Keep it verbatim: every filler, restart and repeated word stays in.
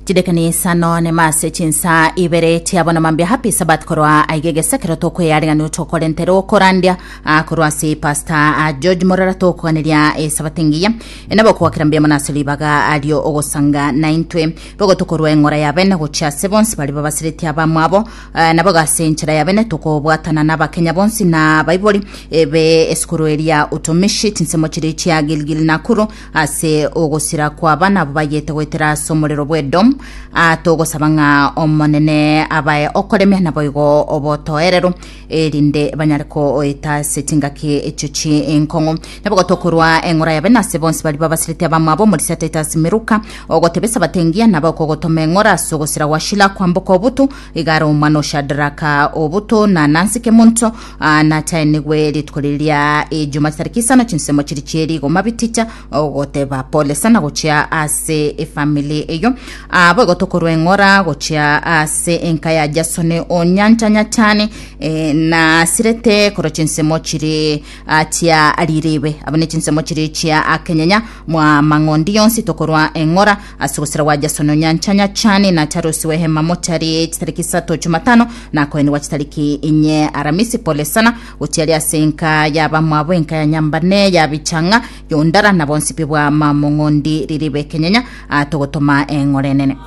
Chidekani isano nemase chinsa ibere chiabona mambia. Happy Sabbath korwa aigegesekero kero tokweyarigani tokorentera okorandia ah, korwa ase Pastor ah, George Morara, tokoganeria esabato engiya enabo kwakera mbuya mono ase ribaga ario ogosanga naintwe bogo tokorwa eng'ora ya bene gochia ase bonsi bari babasiretie abamwabo, eh, nabo gase enchera ya bene tokobwatana na abakenya bonsi na baibori ebe esukuru eria Utumishi chinsemo chiri chia Gilgil Nakuru ase ogosira kwa abana abo bayete goetera ase omorero bwa Edom. Ah, togosaba ng'a omonene abae okoremia nabo igo obotoerero erinde banyare koeta ase chingaki echio chi enkong'u. Nabo gotokorwa eng'ora yabe nase bonsi bari babasirete abamwabo omorisia Titus Miruka ogotebesa batengia nabo okogotoma eng'ora ase ogosira gwa Shila kwamboka obutu igare omwana Oshadraka obutu na Nancy Kemunto, ah, nachaenigwe rituko riria ejuma chitariki isano chinsemo chiri chieri goma biticha ogoteba pole sana gochia ase efamily eyo. Ah, boigo tokorwa eng'ora gochia ase enka ya Jason Onyancha Nyachani, eh, na sirete korwa chinsemo chiri ah, chia riribe abo ne chinsemo chiri chia akenyenya mwa mang'ondi yonsi tokorwa eng'ora ase ogosira gwa Jason Onyancha Nyachani na charusi wehema mochari chitariki isato jumatano na koenigwa chitariki inye aramisi. Pole sana gochiari ase enka ya bamwabo, enka ya Nyambane ya Bichanga yondara na bonsi pi bwa mamong'ondi riribe kenyenya, ah, togotoma eng'ora enene.